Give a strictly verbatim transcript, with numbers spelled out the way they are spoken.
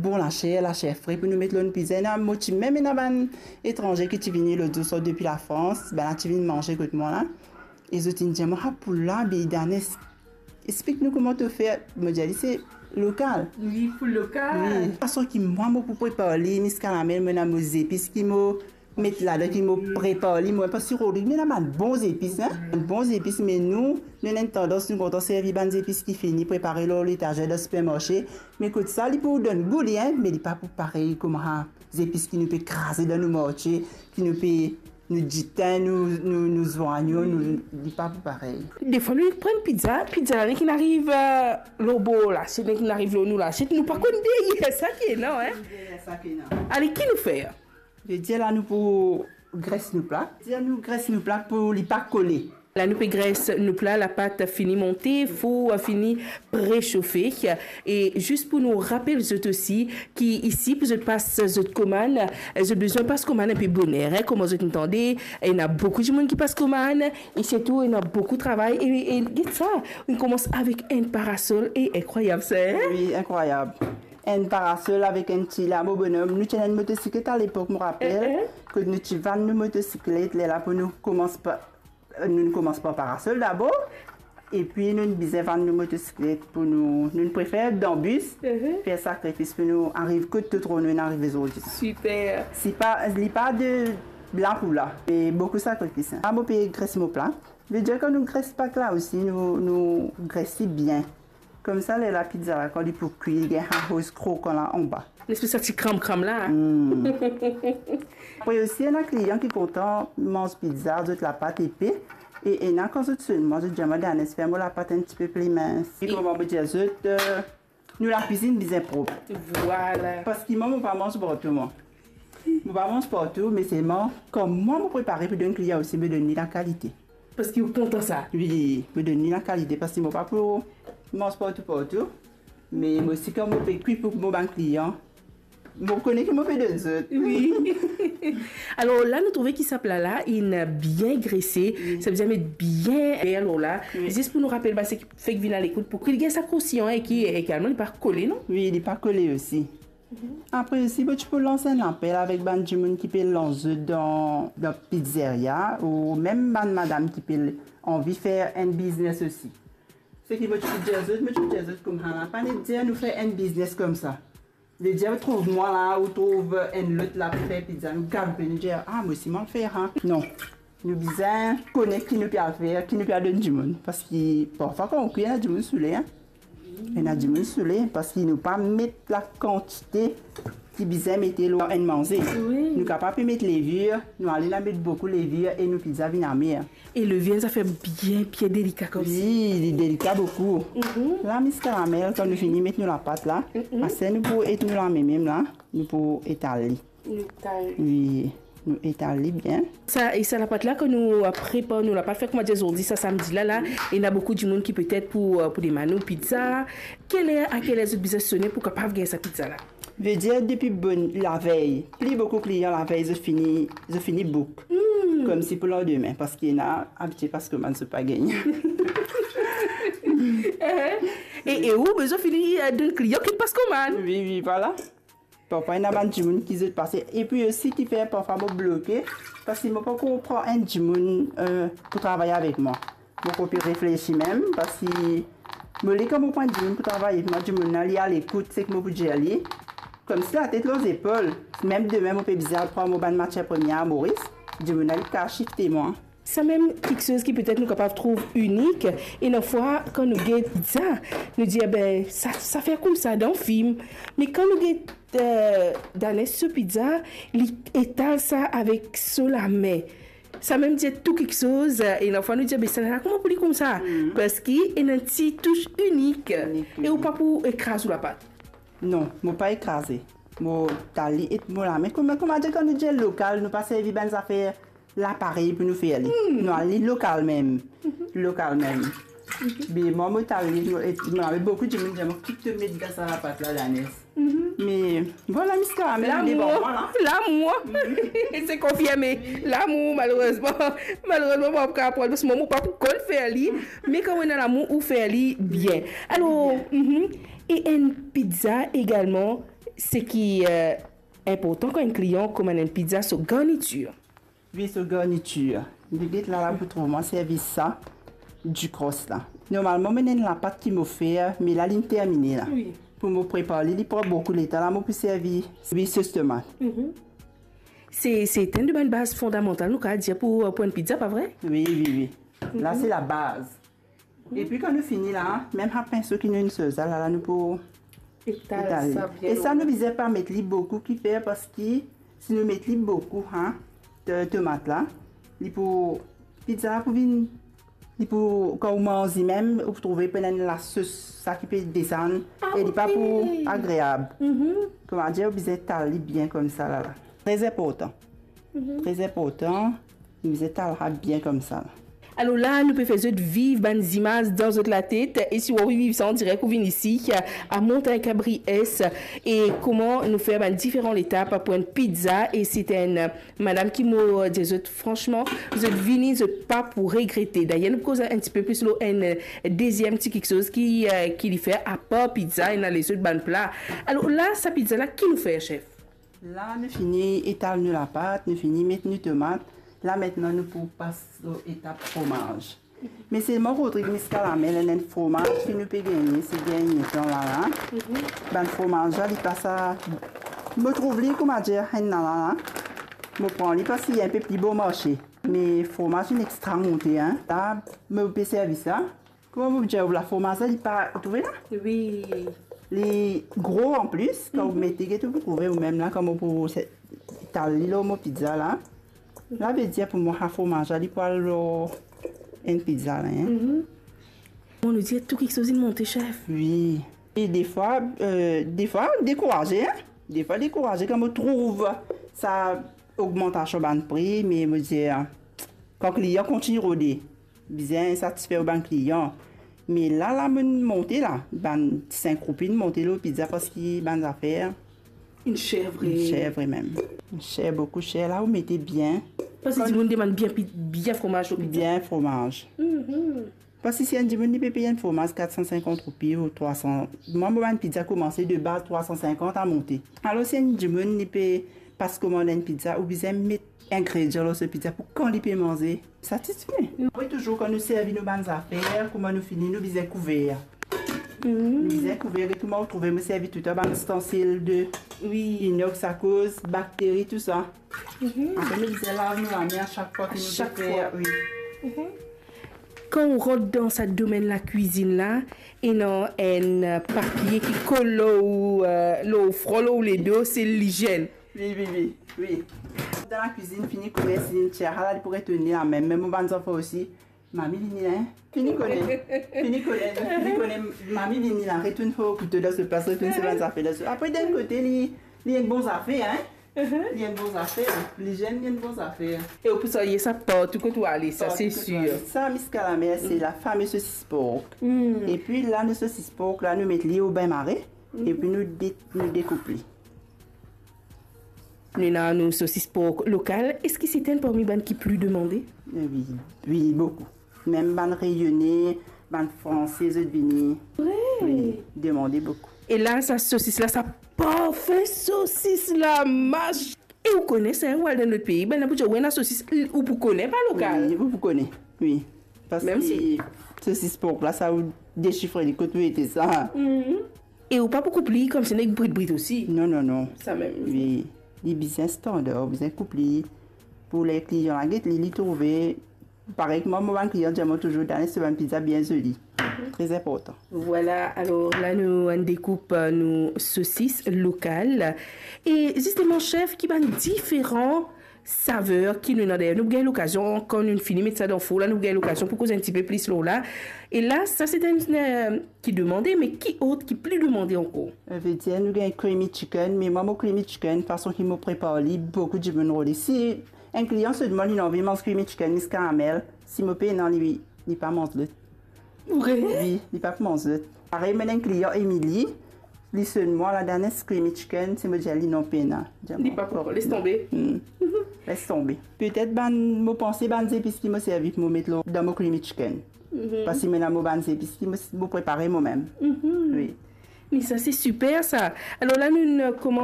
bon laser, laser fre pou nou met lor nou pizza. Ena, mo ti mem ena bann etranze ki ti vini lot zour sort depi Lafrans, bannla ti vinn manze kot mwa la. E zot inn dir mwa, "Ah, poul la, be Danes, explik nou kouma to fer." Mo dir li, "Se lokal." Wi, pou lokal. Wi. Fason ki mwa mo pou prepar li, Miss Caramel, mo ena mo zepis ki mo met ladan, ki mo prepar li mwa, parski Rodrig, li ena bann bon zepis, hein. Bann bon zepis, me nou, nou ena enn tandans, nou kontan servi bann zepis ki fini prepare lor letazer dan sipermarse. Me kot sa, li pou donn gou li, hein, me li pa pou parey kouma zepis ki nou pe kraze dan nou marse, ki nou pe, nou ditin, nou, nou, nou zwanyon, nou, li pa pou parey. Defwa nou pran pizza, pizza la nek inn ariv, eh, lor bor lasiet, nek inn ariv lor nou lasiet, nou pa konn deryer sa ki ena, hein. Deryer sa ki ena. Ale, ki nou fer? Vedir la nou pou gres nou pla. Vedir nou gres nou pla pou li pa kole. La nou pe gres nou pla, lapat fini monte, four fini presofe. E zis pou nou rapel zot osi ki isi pou zot pas zot komann, zot bizin pas komann enpe boner, hein, kouma zot inn tande, ena boukou dimoun ki pas komann, e sirtou ena boukou travay, e, e get sa, nou koumans avek enn parasol, e inkrwayab sa, hein? Wi, inkrwayab. Enn parasol avek enn ti lamo bonom. Nou ti ena enn motosiklet alepok, mo rapel, eh, eh, kot nou ti vann nou motosiklet, lerla pou nou koumans pa, nou koumans par parasol dabor, epi nou bizin vann nou motosiklet pou nou, nou prefer dan bis, mhm, fer sakrifis pou nou ariv kot to trouv nou inn arive zordi. Siper. Si pa, li pa de la pou la, e boukou sakrifis, hein. Mo pe gres mo pla. Vedir kan nou gres pat la osi, nou, nou gres li bien. Koumsa, lerla pizza la, kan li pou kwi, li gagn sa koz krokan la anba. Lespes sa ti kram-kram la. Hmm. Apre osi, ena klian ki kontan manz pizza, zot lapat epe. E ena kan zot sonn mwa, zot dir mwa, "Danes, fer mo lapat enn tipe pli mins." E kouma mo dir zot, eh, nou lakwizinn bizin prop. Vwala. Parski mwa, mo pa manz partou, mwa. Mo pa manz partou, me selman, kan mwa mo prepare pou donn klian osi, mo donn li lakalite. Parski ou kontan sa? Wi, mo donn li lakalite, parski mo pa pou manz partou, partou. Me mo osi, kan mo pe kwi pou mo bann klian, mo kone ki mo pe donn zot. Wi. Alor, la nou trouve ki sa pla la, inn bien grese, wi, savedir met bien fer lor la. Wi. Zis pou nou rapel bann seki fek vinn alekout, pou ki li gagn sa kroustiyan e ki egalman li pa kole, non? Wi, li pa kole osi. Mhm. Apre osi, mo ti pou lans enn lapel avek bann dimoun ki pe lans zot dan, dan pizzeria, ou mem bann madam ki pe anvi fer enn biznes osi. Seki mo ti pou dir zot, mo ti pou dir zot koumsa la, pa nek dir nou fer enn biznes koumsa. Vedir, ou trouv mwa la, ou trouv enn lot la pe fer pizza, nou galoupe, nou dir, "Ah, mo osi mo al fer, hein." Non. Nou bizin kone ki nou pe al fer, ki nou pe al donn dimoun. Parski parfwa kan ou kwi, ena dimoun soule, hein. Ena dimoun soule, parski nou pa met lakantite ki bizin mete lor enn manze. Wi. Nou kapav pe met levir, nou ale la met boukou levir e nou pizza vinn amer. E levir enn zafer bien, bien delika koumsa. Wi, li delika boukou. Mhm. La, Miss Caramel, kan nou fini met nou lapat la, mhm, aster nou pou et nou lame mem la, nou pou etal li. Nou etal. Wi, nou etal li bien. Sa, e sa lapat la, kan nou, eh, prepar nou lapat, fer kouma dir zordi, sa samdi la, la, ena boukou dimoun ki petet pou, eh, pou demann nou pizza. Ki ler, a ki ler zot bizin sone pou kapav gagn sa pizza la? Vedir depi bonn lavey, pli boukou klian lavey, zot fini, zot fini book. Hmm. Koumsi pou landime, parski ena abitie pas komann, zot pa gagn. Eh, e, e ou bizin fini, eh, donn klian ki pas komann. Wi, wi, vwala. Parfwa, ena bann dimoun ki zot pase. Epi osi ki fer parfwa mo bloke, parski mo pankor pran enn dimoun, eh, pou travay avek mwa. Mo pankor pe reflesi mem, parski mo le kan mo pran enn dimoun pou travay avek mwa, dimoun la, li alekout seki mo pou dir li. Koumsi latet lor zepol. Mem demin, mo pe bizin al pran mo bann matier premie a Moris, dimoun la, li kapav sifte mwa. Sa mem kiksoz ki petet nou kapav trouv inik, e ena fwa kan nou get pizza, nou dir, "Be, sa, sa fer koumsa dan fim." Me kan nou get, eh, Danes so pizza, li etal sa avek so lame. Sa mem dir tou kiksoz, eh, e ena fwa nou dir, "Be, sa la, kouma pou li koumsa?" Mhm. Parski ena enn ti tous inik. Inik, wi. E ou pa pou ekraz ou lapat? Non, mo pa ekraze. Mo etal li et mo lame. Kouma, kouma dir, kan nou dir lokal, nou pa servi bann zafer laparey pou nou fer li. Hmm. Nou al li lokal mem. Mhm. Lokal mem. Mhm. Be mwa, mo etal li, mo, et, mo ena boukou dimoun dir mwa, "Ki to met dan sa lapat la, Danes?" Mhm. Me vwala, Miss Caramel, lamour, devan mwa la. Lamour. Mhm. Se konfirme. Lamour, malerezman. Malerezman, mo pa pou kapav pran, parski mwa, mo pa pou konn fer li. Me kan ou ena lamour, ou fer li bien. Alor, bien. Mhm. E enn pizza egalman, Seki, eh, inportan kan enn klian komann enn pizza, so garnitir. Wi, so garnitir. Li get la, la pou trouv mwa servi sa, dikros la. Normalman, mo ena enn lapat ki mo fer, me la, linn termine la. Wi. Pou mo prepar li, li pran boukou letan, la mo pou servi, wi, sos tomat. Mhm. Se, se enn de bann baz fondamantal, nou kapav dir, pou, pou enn pizza, pa vre? Wi, wi, wi. La, mhm, se labaz. Epi kan nou fini la, mem sa pinso ki nou inn servi la, la nou pou etal sa bien. E sa nou bizin pa met li boukou, kifer, parski si nou met li boukou, ha, to-, tomat la, li pou, pizza la pou vinn, li pou, kan ou manz li mem, ou pou trouve pou ena lasos, sa ki pe desann, ah, e li pa pou agreab. Mhm. Kouma dir, ou bizin etal li bien koumsa la, la. Tre inportan. Mhm. Tre inportan. Li bizin etal sa bien koumsa la. Alor la, nou pe fer zot viv bann zimaz dan zot latet, e si ou anvi viv sa an direk, ou vinn isi, a Montagne Cabri Est, e kouma nou fer bann diferan letap pou enn pizza, e se enn madam ki, mo dir zot fransman, zot vini, zot pa pou regrete. Dayer, nou pou koz enn tipe plis lor enn deziem ti kiksoz ki, eh, ki li fer apar pizza, ena lezot bann pla. Alor la, sa pizza la, ki nou fer, chef? La, nou fini etal nou lapat, nou fini met nou tomat. La, aster nou pou pas lor etap fromaz. Me selman, Rodrig, Miskalamel, enn fromaz ki nou pe gagne, se gagne tan la, la. Mhm. Bann fromaz la, li pa sa, mo trouv li, kouma dir, enn la, la, la. Mo pran li parski li enpe pli bon marse. Me fromaz inn extra monte, hein. La, mo pe servi sa. Kouma mo dir ou, la fromaz la, li pa, ou trouve la? Wi. Li gro anplis, kan ou, mhm, mete, get ou pou trouve ou mem la, kouma pou se-, etal li lor mo pizza la. La, vedir pou mwa, sa fromaz la, li pou al lor enn pizza la, hein. Mhm. Bon, nou dir tou kiksoz inn monte, chef. Wi. E defwa, eh, defwa, dekouraze, hein. Defwa, dekouraze, kan mo trouv sa ogmantasion bann pri, me mo dir, kan klian kontign rode, bizin satisfer ou bann klian. Me la, la, mo monte la, bann sink roupi monte lor pizza parski bann zafer inn ser vre. Inn ser vre mem. Inn ser, boukou ser, la ou mete bien. Parski dimoun demann bien pi-, bien fromaz lor pizza. Bien fromaz. Mhm. Parski si enn dimoun li pe pey enn fromaz kat san sinkant roupi ou trwa san, mwa, mo bann pizza koumanse de baz trwa san sinkant a monte. Alor si enn dimoun li pe pas komann enn pizza, ou bizin met ingredian lor so pizza pou kan li pe manze, satisfe. Apre touzour kan nou servi nou bann zafer, kouma nou fini, nou bizin kouver. Mhm. Nou bizin kouver, e kouma ou trouve, mo servi toutan bann istansil de, wi, inox akoz bakteri, tou sa. Mhm. Apre nou bizin lav nou lame a sak fwa ki nou, sak fwa, fer, wi. Mhm. Kan ou rant dan sa domenn lakwizinn la, ena enn papie ki kol lor ou, eh, lor ou fron, lor ou ledo, se lizienn. Wi, wi, wi, wi. Dan lakwizinn, fini kouver, si enn tier la, li pou retourn lame. Mem mo bann zanfan osi, mami vini la, hein? Fini kone, fini kone, fini kone, mami vini la, retourn so kouto dan so plas, retourn so bann zafer dan so. Apre, dan enn kote, li, li enn bon zafer, hein? Li enn bon zafer, lizienn, li enn bon zafer. E ou pou salye sa partou kot ou ale, sa se sir. Partou kot ou ale. Sa, Miskalamel, se la famez sosis pork. Mm. Epi la, nou sosis pork la, nou met li o bin mare, mm, epi nou de-, nou dekoup li. Nou ena nou sosis pork lokal. Eski se enn parmi bann ki pli demande? Eh wi, wi, boukou. Mem bann Reyone, bann Franse, zot vini. Vre? Wi, demande boukou. E la, sa sosis la, sa parfin sosis la, mas. E ou kone sa, ou al dan lot pei, bann la pou dir, ou ena sosis, ou pou kone pa lokal. Wi, ou pou kone, wi. Parski sosis pork la, sa ou desifre li kot ou ete sa. Mhm. E ou pa pou koup li koumsi nek brit brit osi. Non, non, non. Sa mem. Wi. Li bizin standar, ou bizin koup li. Pou le klian la get li, li trouve, parey kouma mo bann klian dir mwa touzour, Dani, se bann pizza bien zoli. Mhm. Tre inportan. Vwala, alor la nou, nou dekoup, eh, nou sosis lokal. E zisteman, chef, ki bann diferan saver ki nou ena? Dayer, nou gagn lokazion, kan nou fini met sa dan four la, nou gagn lokazion pou koz enn tipe plis lor la. E la, sa se enn, eh, ki demande, me ki ot ki pli demande ankor? Savedir nou gagn creamy chicken, me mwa, mo creamy chicken, fason ki mo prepar li, boukou dimoun rode. Si enn klian sot mwa, li anvi manz creamy chicken, Miskalamel, si mo pena li, li pa manz lot. Vre? Wi, li pa pou manz lot. Parey, mo ena enn klian Emily, li sot mwa, la dernier creamy chicken, si mo dir li non, pena. Li pa pou, les tonbe. Hmm. Les tonbe. Petet bann, mo panse bann zepis ki mo servi pou mo met lor, dan mo creamy chicken. Mhm. Parski mo ena mo bann zepis ki mo, mo prepare mo mem. Mhm. Wi. Mais ça, c'est super, ça. Alors là, nous, nous commençons